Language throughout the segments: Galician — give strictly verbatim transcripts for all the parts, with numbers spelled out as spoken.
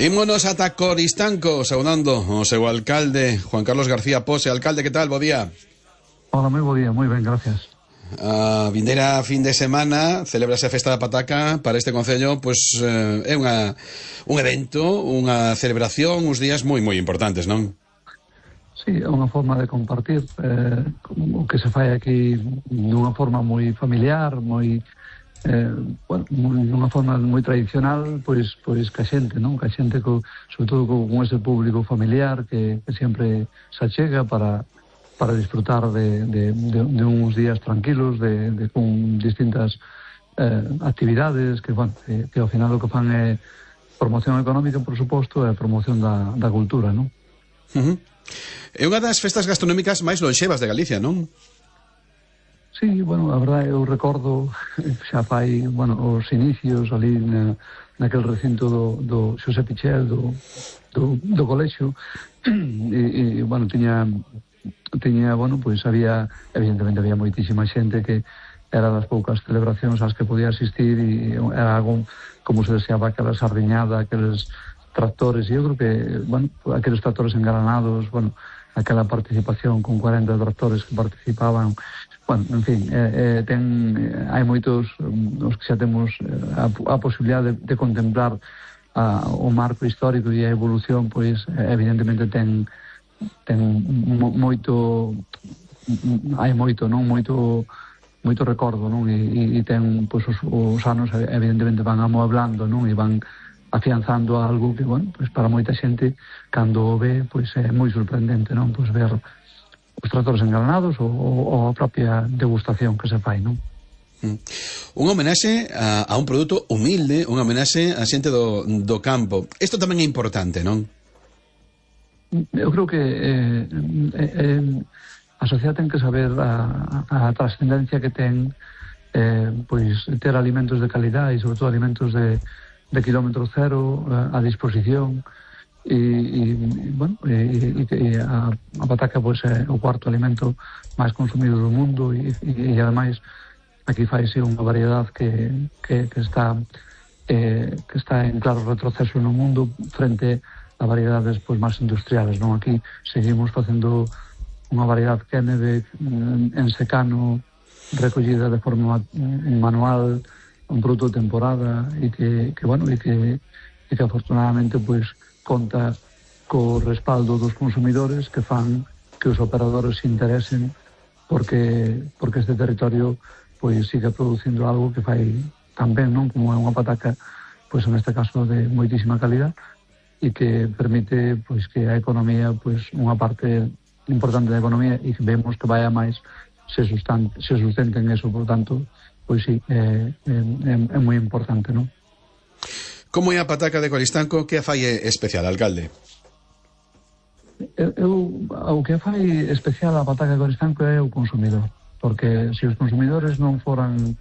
Ímonos ata Coristanco, saudando o seu alcalde, Juan Carlos García Pose. Alcalde, que tal? Bo día. Hola, moi bo día, moi ben, gracias. A vindeira fin de semana celebrase a Festa da Pataca. Para este concello, pois eh, é unha, un evento, unha celebración, uns días moi moi importantes, non? Sí, é unha forma de compartir eh, o que se fai aquí dunha forma moi familiar, moi eh, bueno, dunha forma moi tradicional, pois pois ca xente, non? Ca xente co, sobre todo con ese público familiar que, que sempre se achega para para disfrutar de, de, de, de uns días tranquilos, de, de con distintas eh, actividades que, bueno, que, que ao final o que fan é promoción económica, por suposto, e promoción da, da cultura, non? Uh-huh. É unha das festas gastronómicas máis lonxevas de Galicia, non? Sí, bueno, a verdade, eu recordo xa fai, bueno, os inicios ali na, naquel recinto do, do Xosé Pichel, do, do, do colexio, e, e, bueno, tiña, tiña, bueno, pois había, evidentemente había moitísima xente que era das poucas celebracións ás que podía asistir e era algo, como se deseaba, aquela sardiñada, aqueles tractores, e eu creo que, bueno, aqueles tractores engranados, bueno, aquela participación con cuarenta tractores que participaban. Bueno, en fin, eh, eh, ten, eh, hai moitos os que xa temos a, a posibilidade de, de contemplar a, o marco histórico e a evolución, pois evidentemente ten ten mo, moito hai moito, non? Moito moito recordo, non? E, e ten, pois os, os anos evidentemente van amueblando, non? E van afianzando algo que, bueno, pois para moita xente cando o ve, pois é moi sorprendente, non? Pois ver os tractores engranados ou, ou a propia degustación que se fai, non? Mm. Unha homenaxe a, a un produto humilde, unha homenaxe a xente do, do campo. Isto tamén é importante, non? Eu creo que eh, eh, a sociedade ten que saber a, a, a trascendencia que ten eh, pois ter alimentos de calidade e sobre todo alimentos de, de kilómetro cero a, a disposición. E, e bueno, e, e, e a, a pataca pois é o cuarto alimento máis consumido do mundo e, e, e ademais aquí faise unha variedade que, que, que está eh, que está en claro retroceso no mundo frente a variedades pois máis industriales, non? Aquí seguimos facendo unha variedade Kennedy en, en secano, recollida de forma manual, un produto de temporada e que, que bueno, e que, e que afortunadamente pois conta co respaldo dos consumidores que fan que os operadores se interesen porque porque este territorio pois siga producindo algo que fai tan ben, non? Como é unha pataca, pois neste caso de moitísima calidad e que permite pois que a economía, pois unha parte importante da economía e que vemos que vai a máis se sustante, se sustente en eso, por tanto, pois sí, é, é, é moi importante, non? Como é a pataca de Coristanco? Que a fai especial, alcalde? Eu, eu, o que fai especial a pataca de Coristanco é o consumidor, porque se os consumidores non foran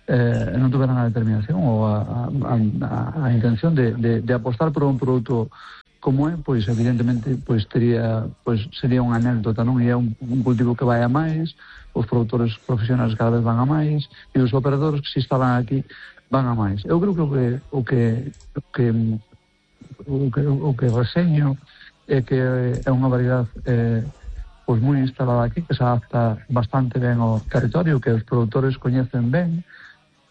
eh, non tuveran a determinación ou a, a, a, a intención de, de, de apostar por un produto como é, pois evidentemente pois tería, pois sería unha anécdota, non? E é un, un cultivo que vai a máis, os produtores profesionais cada vez van a máis e os operadores que se instalan aquí van a máis. Eu creo que o que o que o que o que, o que reseño é que é unha variedade eh, pois moi instalada aquí, que se adapta bastante ben ao territorio, que os produtores coñecen ben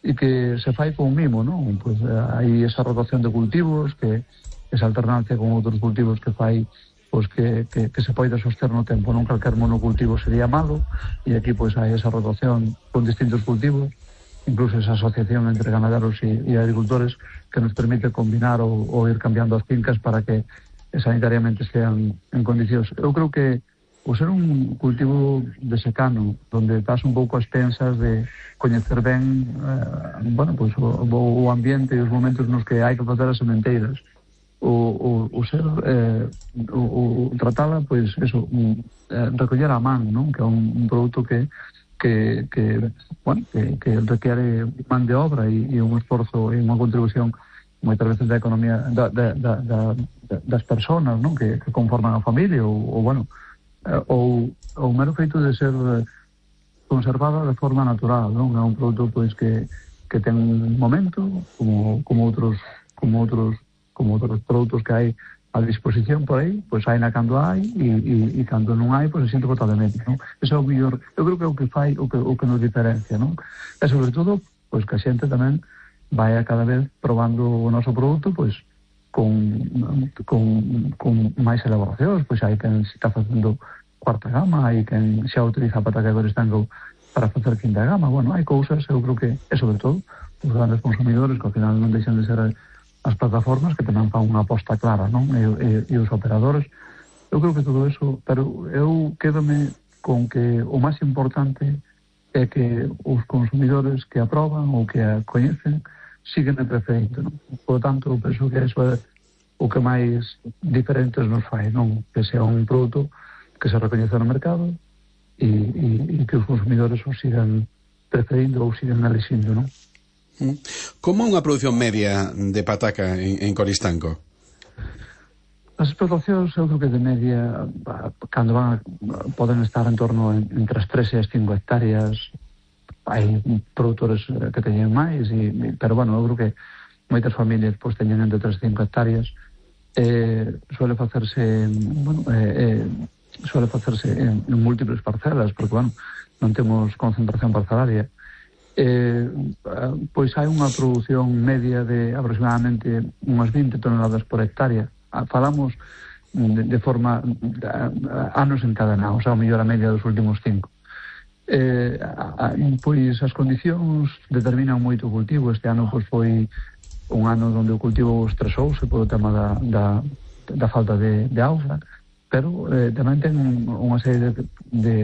e que se fai con mimo, non? Pois hai esa rotación de cultivos, que esa alternancia con outros cultivos que fai pois que, que, que se poida soster no tempo, non calquer monocultivo sería malo e aquí pois hai esa rotación con distintos cultivos, incluso esa asociación entre ganaderos e, e agricultores que nos permite combinar ou, ou ir cambiando as fincas para que sanitariamente estean en condicións. Eu creo que o ser un cultivo de secano, donde estás un pouco as pensas de coñecer ben eh, bueno, pues, o, o ambiente e os momentos nos que hai que facer as sementeiras, o, o, o ser eh, o, o tratala, pois pues, eso, un, eh, recoller a man, non? Que é un, un produto que que, que, bueno, que, que requiere man de obra e, e un esforzo e unha contribución moitas veces da economía da, da, da, da, das personas, non? Que, que conforman a familia ou, ou bueno, ou o mero feito de ser conservada de forma natural, non? É un produto pois que, que ten un momento como, como outros como outros como outros produtos que hai a disposición por aí, pois hai na cando hai e, e, e cando non hai, pois se sinto totalmente, non? Ese é o mellor, eu creo que é o que fai, o que, o que nos diferencia, non? E sobre todo, pois que a xente tamén vai a cada vez probando o noso produto, pois con, con, con máis elaboracións, pois hai quen se está facendo cuarta gama, hai quen xa utiliza a pataca de Coristanco para facer quinta gama, bueno, hai cousas, eu creo que, e sobre todo, os grandes consumidores, que ao final non deixan de ser as plataformas que tamén fan unha aposta clara, non? E, e, e os operadores, eu creo que todo eso, pero eu quédome con que o máis importante é que os consumidores que aproban ou que a coñecen siguen de preferindo, non? Por tanto, eu penso que eso é o que máis diferentes nos fai, non? Que sea un produto que se recoñece no mercado e, e, e que os consumidores o sigan preferindo ou sigan elixindo, non? Como unha produción media de pataca en, en Coristanco? As explotacións, eu creo que de media, cando van, poden estar en torno entre as tres e as cinco hectáreas. Hai produtores que teñen máis, e, pero, bueno, eu creo que moitas familias pois, teñen entre tres e cinco hectáreas. Eh, suele facerse, bueno, eh, eh, suele facerse en, en múltiples parcelas, porque, bueno, non temos concentración parcelaria. Eh, pois hai unha produción media de aproximadamente unhas vinte toneladas por hectárea. Falamos de, de forma de, anos encadenados, ao mellor a media dos últimos cinco. Eh, a, a, pois as condicións determinan moito o cultivo. Este ano pois foi un ano onde o cultivo estresouse polo tema da, da, da falta de, de auga, pero eh, tamén ten unha serie de, de,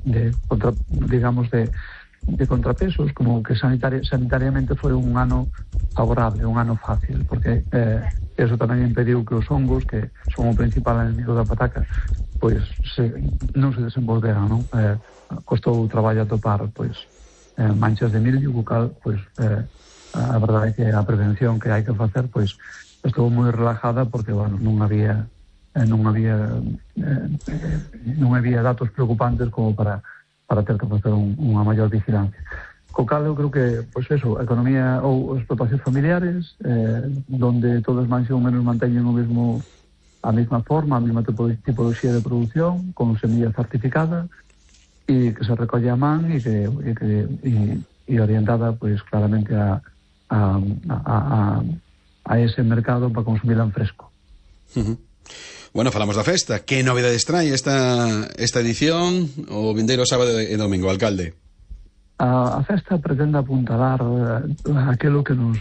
de contra, digamos de de contrapesos, como que sanitari sanitariamente foi un ano favorable, un ano fácil, porque eh, eso tamén impediu que os hongos, que son o principal enemigo da pataca, pois se, non se desenvolveran, non? Eh, costou traballo a topar, pois, eh, manchas de mildio, bucal, pois, eh, a verdade é que a prevención que hai que facer, pois, estou moi relajada, porque, bueno, non había eh, non había eh, non había datos preocupantes como para para ter que facer un, unha maior vigilancia. Co cal eu creo que, pois eso, a economía ou explotacións familiares, eh, donde todos máis ou menos manteñen o mesmo, a mesma forma, a mesma tipoloxía de produción, con semilla certificada, e que se recolle a man e que, e que e, e orientada, pois, claramente a, a, a, a, a ese mercado para consumirla en fresco. Uh-huh. Bueno, falamos da festa. Que novidades trae esta, esta edición o vindeiro sábado e domingo, alcalde? A, a festa pretende apuntalar uh, aquilo que nos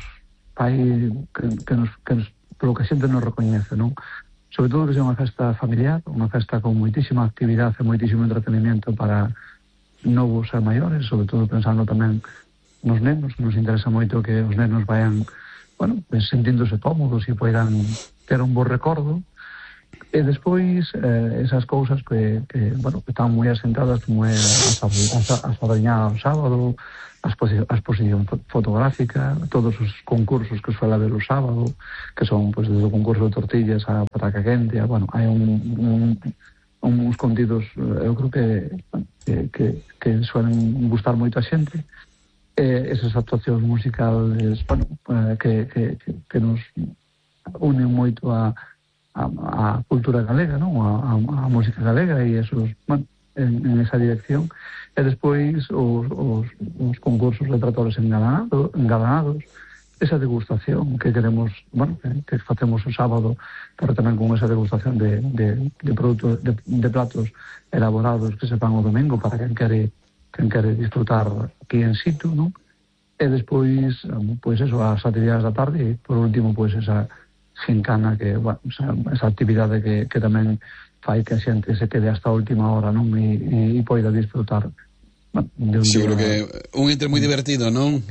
fai, que, que nos, que nos, polo que a xente nos recoñece, non? Sobre todo que sea unha festa familiar, unha festa con moitísima actividade e moitísimo entretenimiento para novos e maiores, sobre todo pensando tamén nos nenos. Nos interesa moito que os nenos vayan, bueno, pues, sentíndose cómodos e poidan ter un bo recordo. E despois eh, esas cousas que, que, bueno, que están moi asentadas, como é a Sardañá o sábado, a exposición fotográfica, todos os concursos que suele haber o sábado, que son, pues, desde o concurso de tortillas a pataca quente, a, bueno, hai un, un, uns contidos, eu creo que, que, que, que suelen gustar moito a xente. Eh, esas actuacións musicales, bueno, eh, que, que, que nos unen moito a A, a cultura galega, non? A, a, a música galega, e esos, bueno, en, en esa dirección. E despois os, os, os concursos de tratores engalanados, engalanados, esa degustación que queremos, bueno, que, que facemos o sábado, pero tamén con esa degustación de, de, de produtos, de, de platos elaborados que se fan o domingo para quen quere, quen quere disfrutar aquí en situ, non? E despois, pois eso, as actividades da tarde, e por último, pois esa gincana, que, bueno, esa, esa actividade que, que tamén fai que a xente se quede hasta a última hora, non? E, e, e poida disfrutar, bueno, de un seguro día... que un entre moi divertido, non?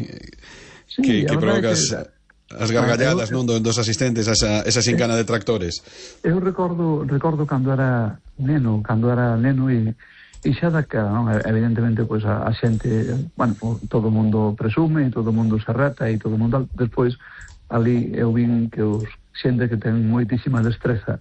Sí, que, que provoca que... as gargalladas, non, dos asistentes a esa, esa gincana de tractores. Eu recordo recordo cando era neno, cando era neno e e xa daquela, non? Evidentemente, pois, a, a xente, bueno, todo o mundo presume, e todo o mundo se reta, e todo o mundo... Despois, ali eu vin que os xente que ten moitísima destreza,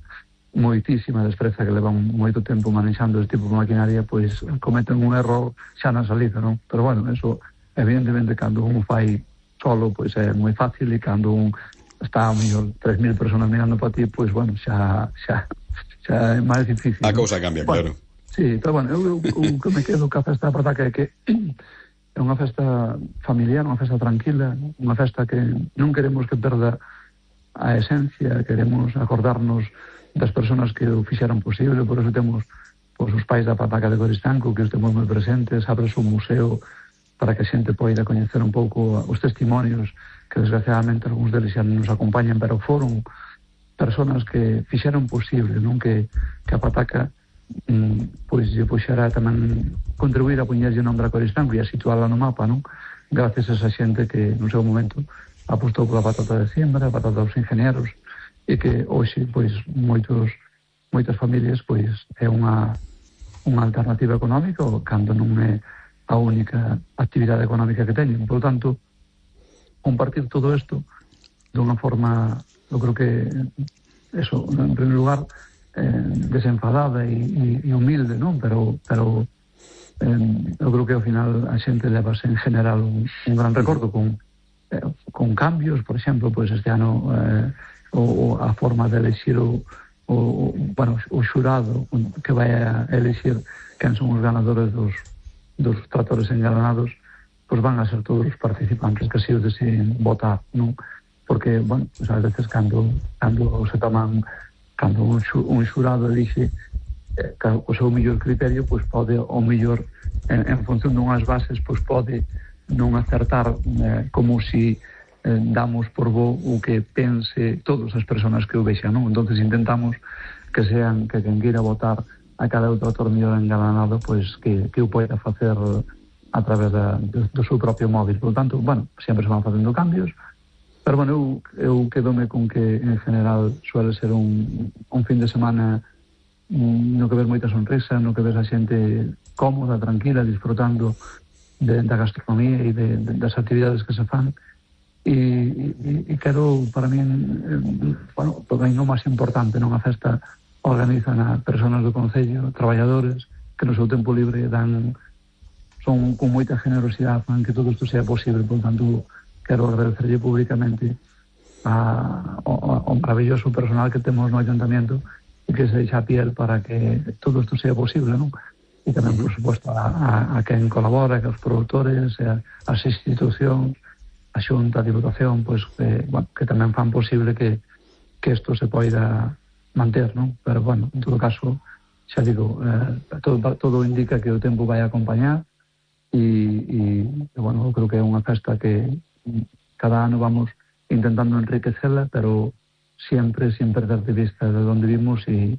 moitísima destreza, que levan moito tempo manexando este tipo de maquinaria, pois cometen un error xa na salida, non? Pero, bueno, eso, evidentemente, cando un fai solo, pois é moi fácil, e cando un está a mellor tres mil personas mirando para ti, pois, bueno, xa, xa, xa é máis difícil. A cousa cambia, bueno, claro. Sí, pero bueno, eu, eu, eu que me quedo ca festa da pataca é que é unha festa familiar, unha festa tranquila, unha festa que non queremos que perda a esencia, queremos acordarnos das persoas que o fixeron posible, por eso temos pois, os pais da pataca de Coristanco, que os temos moi presentes, abres un museo para que a xente poida coñecer un pouco os testimonios, que desgraciadamente algúns deles xa nos acompañan, pero foron persoas que fixeron posible, non que, que a pataca pois lle puxera tamén contribuir a poñerlle nombre a Coristanco e a situarla no mapa, non? Gracias a esa xente que no seu momento apostou pola patata de siembra, a patata dos ingenieros, e que hoxe pois moitos moitas familias pois é unha unha alternativa económica cando non é a única actividade económica que teñen. Por lo tanto, compartir todo isto dunha forma, eu creo que eso, en primeiro lugar Eh, desenfadada e, e, e humilde, non? Pero, pero eh, eu creo que ao final a xente levase en general un, un gran recordo con, eh, con cambios, por exemplo, pois este ano eh, o, a forma de elexir o, o, bueno, o xurado que vai a elexir quen son os ganadores dos, dos tratores engalanados, pois van a ser todos os participantes que así os deciden votar, non? Porque, bueno, pues a veces cando, cando se toman cando un, xu, un xurado elixe eh, o seu mellor criterio, pois pode o mellor en, en función dunhas bases, pois pode non acertar eh, como si eh, damos por bo o que pense todas as persoas que o vexan, non? Entonces intentamos que sean que quen queira votar a cada outro autor mellor engalanado, pois que, que o poida facer a través da, do, do seu propio móvil. Por lo tanto, bueno, sempre se van facendo cambios. Pero, bueno, eu, eu quedome con que, en general, suele ser un, un fin de semana no que ves moita sonrisa, no que ves a xente cómoda, tranquila, disfrutando de, da gastronomía e de, de, das actividades que se fan. E, e, e quero, para mí, eh, bueno, para mí o máis importante, non? A festa organizan a persoas do Concello, traballadores, que no seu tempo libre dan, son con moita generosidade, fan que todo isto sea posible, por tanto, quero agradecerlle públicamente a, ao, ao maravilloso personal que temos no Ayuntamiento e que se deixa a piel para que todo isto sea posible, non? E tamén, por suposto, a, a, a quen colabora, que os produtores, a, as institucións, a Xunta, a Diputación, pois, que, bueno, que tamén fan posible que, que isto se poida manter, non? Pero, bueno, en todo caso, xa digo, eh, todo, todo indica que o tempo vai acompañar e, e, bueno, eu creo que é unha festa que cada ano vamos intentando enriquecela, pero sempre, sin perder de vista de onde vimos e,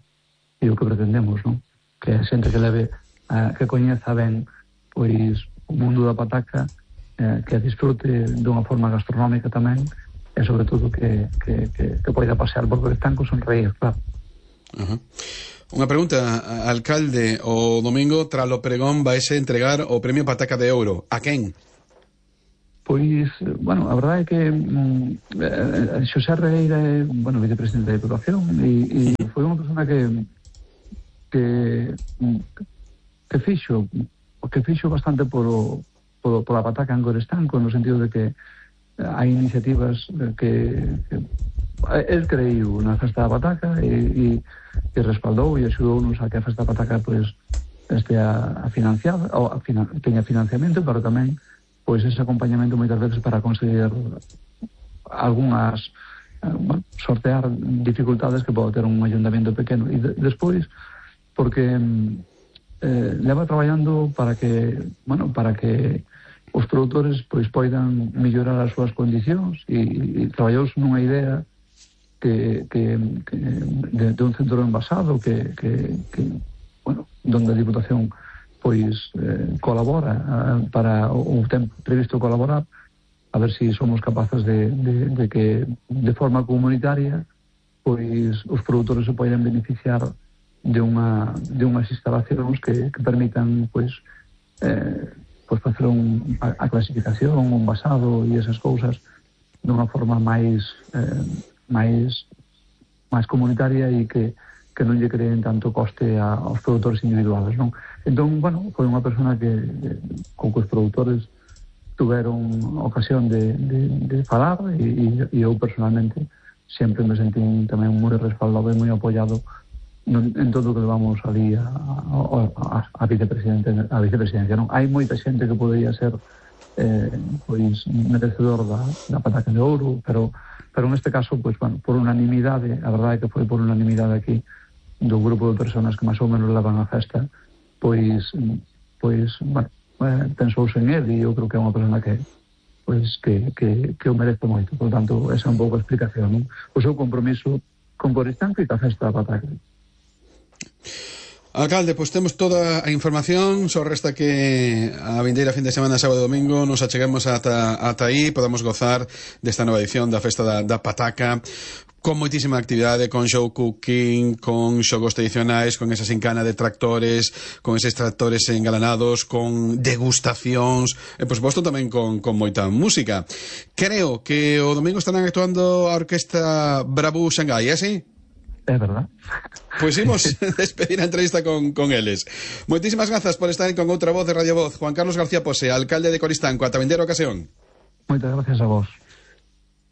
e o que pretendemos, non? Que a xente que leve, uh, que coñeza ben pois o mundo da pataca, uh, que a disfrute dunha forma gastronómica tamén, e sobre todo que, que, que, que poida pasear por Coristanco sonreír, claro. Uh-huh. Unha pregunta, alcalde, o domingo tralo pregón vaise entregar o premio Pataca de Ouro. A quen? Pois, bueno, a verdade é que mm, eh, Xosé Regueira é, bueno, vicepresidente da Diputación e, e foi unha persona que que que fixo que fixo bastante por, o, por, por a pataca en Coristanco, no sentido de que hai iniciativas que, que el creiu na festa da pataca e, e, e respaldou e axudounos a que a festa da pataca pois este a, a financiar ou a finan, teña financiamento, pero tamén pois ese acompañamento moitas veces para conseguir algunhas, bueno, sortear dificultades que pode ter un ayuntamiento pequeno. E de, despois, porque eh, leva traballando para que, bueno, para que os produtores pois poidan mellorar as súas condicións e, e traballou nunha idea que, que, que de, de un centro envasado que, que, que bueno, donde a Diputación pois eh, colabora eh, para o, o tempo previsto colaborar, a ver se si somos capaces de, de, de que de forma comunitaria pois os produtores se poden beneficiar de unha de unhas instalacións que, que permitan pois eh, pois facer un, a, a clasificación, un envasado e esas cousas dunha forma máis eh, máis máis comunitaria e que que non lle creen tanto coste a, aos produtores individuales, non? Entón, bueno, foi unha persona que con que os produtores tuveron ocasión de, de, de falar e, e eu personalmente sempre me sentí tamén moi respaldado e moi apoiado en todo o que levamos ali a, a, a vicepresidente a vicepresidencia, non? Hai moita xente que podería ser eh, pois merecedor da, da pataca de ouro, pero pero neste caso, pois, bueno, por unanimidade, a verdade é que foi por unanimidade aquí do grupo de personas que máis ou menos levan a festa, pois pois, bueno, eh, pensouse en él e eu creo que é unha persona que pois que, que, que o merece moito. Por tanto, esa é un pouco a explicación, non? O seu compromiso con Coristanco e ca festa da pataca. Alcalde, pois temos toda a información, só resta que a vindeira fin de semana, sábado e domingo, nos acheguemos ata, ata aí, podamos gozar desta nova edición da festa da, da pataca, con moitísima actividade, con show cooking, con xogos tradicionais, con esa sincana de tractores, con eses tractores engalanados, con degustacións, e por suposto tamén con, con moita música. Creo que o domingo estarán actuando a Orquesta Bravú Xangai, é así? É verdad. Pois imos despedir a entrevista con, con eles. Moitísimas grazas por estar con outra voz de Radio Voz. Juan Carlos García Pose, alcalde de Coristanco. Ata vindeira ocasión. Moitas gracias a vos.